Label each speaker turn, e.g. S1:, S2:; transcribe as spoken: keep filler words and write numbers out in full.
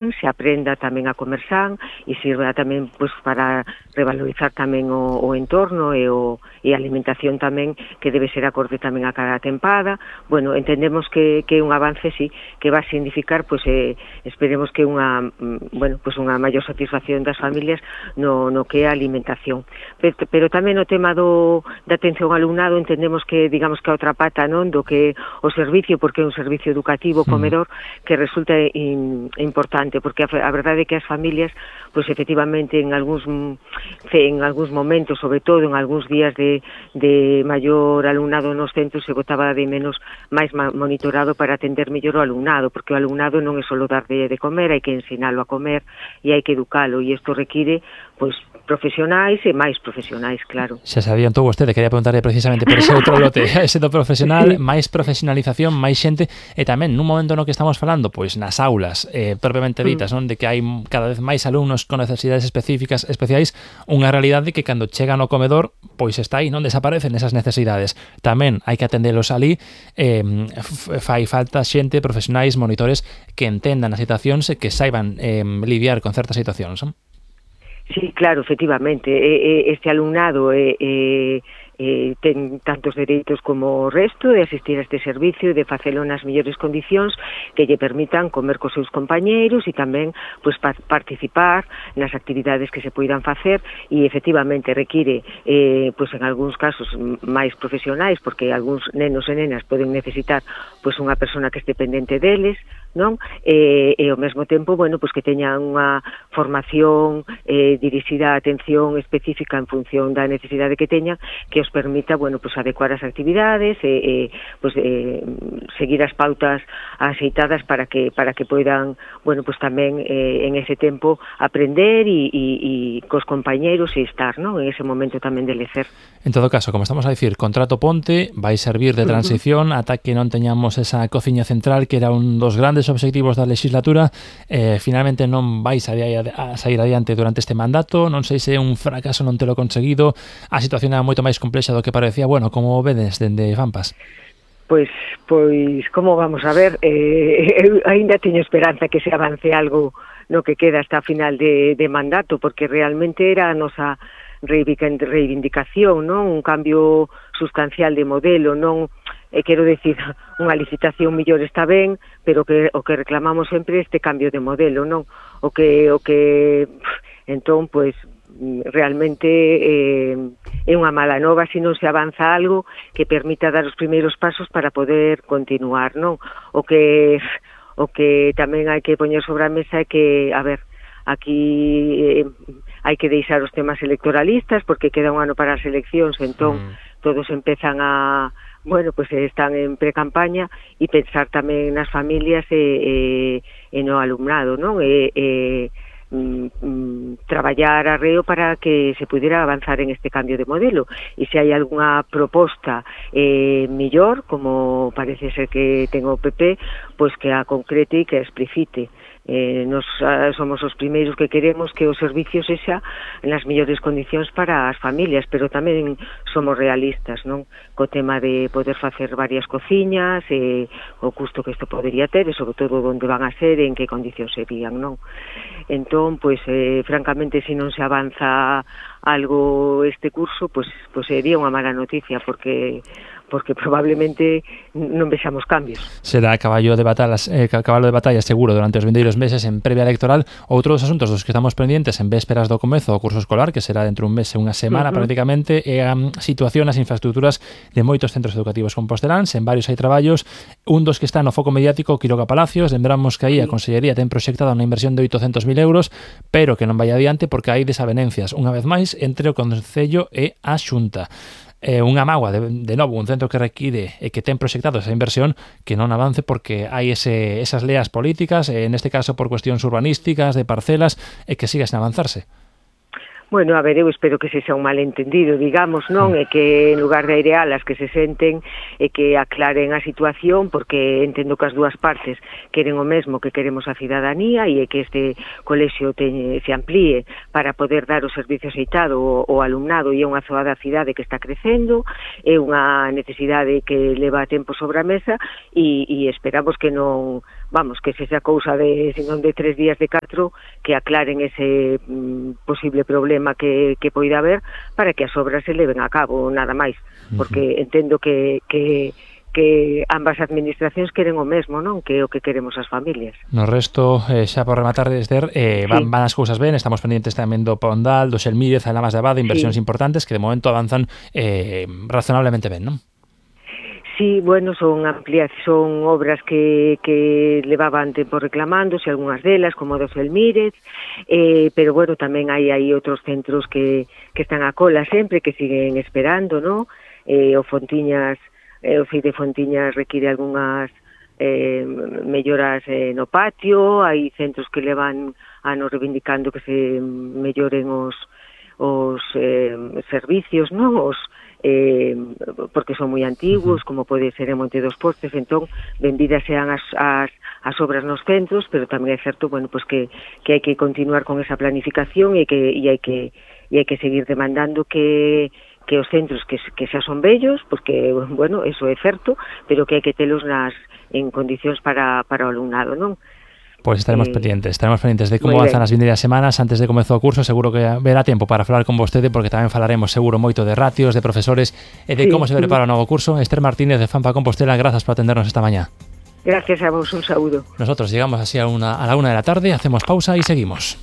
S1: se aprenda tamén a comer san e sirva tamén pois, para revalorizar tamén o, o entorno e, o, e a alimentación tamén que debe ser acorde tamén a cada tempada. Bueno, entendemos que, que é un avance, sí, que va a significar, pois, eh, esperemos que unha, bueno, pois unha maior satisfacción das familias no, no que é a alimentación. Pero, pero tamén o tema do, da atención ao alumnado entendemos que, digamos que a outra pata, non, do que o servicio, porque é un servicio educativo, comedor, que resulta in, importante, porque a, a verdade é que as familias, pois efectivamente en algúns en algúns momentos, sobre todo en algúns días de, de maior alumnado nos centros, se botaba de menos máis monitorado para atender mellor o alumnado, porque o alumnado non é só dar de, de comer, hai que ensinalo a comer e hai que educalo, e isto require, pois, profesionais e máis profesionais, claro.
S2: Xa se adiantou vostede, quería preguntarle precisamente por ese outro lote, ese do profesional, sí. Máis profesionalización, máis xente, e tamén nun momento no que estamos falando, pois nas aulas, eh, propiamente ditas, non, de que hai cada vez máis alumnos con necesidades específicas, especiais, unha realidade que cando chegan ao comedor, pois está aí, non desaparecen esas necesidades. Tamén hai que atendelos ali, eh, fai falta xente, profesionais, monitores que entendan as situacións e que saiban eh, lidiar con certas situacións, non?
S1: Sí, claro, efectivamente, este alumnado eh, eh, eh, ten tantos dereitos como o resto de asistir a este servicio e de facelo nas mellores condicións que lle permitan comer cos seus compañeiros e tamén pues, pa participar nas actividades que se poidan facer e efectivamente require eh, pues, en algúns casos máis profesionais porque algúns nenos e nenas poden necesitar pues, unha persona que este pendente deles, non? E, e ao mesmo tempo, bueno, pues que teñan unha formación eh, dirixida a atención específica en función da necesidade que teñan, que os permita, bueno, pues adecuar as actividades e, e pues eh, seguir as pautas aceitadas para que para que poidan, bueno, pues tamén eh, en ese tempo aprender e, e, e cos compañeiros e estar, non? En ese momento tamén de lecer.
S2: En todo caso, como estamos a dicir, contrato ponte vai servir de transición uh -huh. ata que non teñamos esa cociña central que era un dos grandes obxectivos da legislatura, eh, finalmente non vai sair a sair adiante durante este mandato, non sei se é un fracaso non telo conseguido, a situación era moito máis complexa do que parecía, bueno, como vedes dende Fampas?
S1: Pois, pois, como vamos a ver, eh, eu ainda teño esperanza que se avance algo no que queda hasta a final de, de mandato, porque realmente era a nosa reivindicación, non? Un cambio sustancial de modelo, non? E quero decir, unha licitación mellor está ben, pero que o que reclamamos sempre é este cambio de modelo, non? O que, o que entón, pois, realmente eh, é unha mala nova se non se avanza algo que permita dar os primeiros pasos para poder continuar, non? O que, o que tamén hai que poñer sobre a mesa é que, a ver, aquí eh, hai que deixar os temas electoralistas porque queda un ano para as eleccións, entón mm. todos empezan a bueno, pues están en pre-campaña e pensar tamén nas familias e, e, e no alumnado, non? E, e mm, mm, traballar arreo para que se pudiera avanzar en este cambio de modelo e se hai algunha proposta eh, mellor, como parece ser que ten o P P, pois que a concrete e que a explicite. Eh, nos uh, somos os primeiros que queremos que o servicio sexa nas mellores condicións para as familias, pero tamén somos realistas, non? Co tema de poder facer varias cociñas, e o custo que isto podería ter, e sobre todo onde van a ser, e en que condicións serían, non? Entón, pois, eh, francamente, se non se avanza algo este curso, pois, pois sería unha mala noticia, porque porque probablemente non vexamos cambios.
S2: Será caballo de batallas, eh, cabalo de batalla seguro durante os vindeiros meses en previa electoral. Outro dos asuntos dos que estamos pendientes en vésperas do comezo do curso escolar, que será dentro un mes e unha semana uh -huh. prácticamente, é a situación nas infraestructuras de moitos centros educativos composteláns. En varios hai traballos, un dos que está no foco mediático, Quiroga Palacios. Lembramos que aí a Consellería ten proxectada unha inversión de oitocentos mil euros, pero que non vai adiante porque hai desavenencias, unha vez máis, entre o Concello e a Xunta. Eh, unha mágoa, de, de novo, un centro que require e que ten proxectado esa inversión que non avance porque hai ese, esas leas políticas, eh, neste caso por cuestións urbanísticas, de parcelas, e que siga sen avanzarse.
S1: Bueno, a ver, eu espero que se xa un malentendido, digamos, non? E que en lugar de airealas que se senten e que aclaren a situación, porque entendo que as dúas partes queren o mesmo que queremos a cidadanía e que este colexio te, se amplíe para poder dar o servicio aceitado ao alumnado e é unha zoa da cidade que está crecendo, é unha necesidade que leva tempo sobre a mesa e, e esperamos que non vamos, que se xa cousa de, senón de tres días de catro, que aclaren ese mm, posible problema que, que poida haber para que as obras se leven a cabo, nada máis, porque uh-huh. entendo que, que, que ambas administracións queren o mesmo, non? Que é o que queremos as familias.
S2: No resto, eh, xa por rematar, Esther, eh, sí. van, van as cousas ben, estamos pendientes tamén do Pondal, do Xelmírez, a Lamas de Abade, inversións sí. importantes que de momento avanzan eh, razonablemente ben, non?
S1: Sí, bueno, son ampliacións, son obras que, que levaban tempo reclamándose, algunhas delas, como do Selmírez, eh, pero bueno, tamén hai aí outros centros que, que están a cola sempre, que siguen esperando, ¿no? Eh, o Fontiñas, eh, o F I de Fontiñas require algunhas eh, melloras eh, no patio, hai centros que levan anos reivindicando que se melloren os, os eh, servicios, ¿no? Os Eh, porque son moi antiguos, como pode ser en Monte dos Postes, entón benvidas sean as, as, as obras nos centros, pero tamén é certo, bueno, pues que, que hai que continuar con esa planificación e que e hai que e hai que seguir demandando que que os centros que, que xa son bellos, porque, bueno, eso é certo, pero que hai que telos nas en condicións para, para o alumnado, non?
S2: Pois pues estaremos eh, pendientes, estaremos pendientes de como avanzan as vindeiras semanas antes de comezar o curso. Seguro que verá tempo para falar con vostede, porque tamén falaremos seguro moito de ratios, de profesores e de sí, como se prepara o novo curso. Esther Martínez de Fampa Compostela, grazas por atendernos esta mañá.
S1: Gracias a vos, un saúdo.
S2: Nosotros llegamos así a, una, a la una de la tarde, hacemos pausa y seguimos.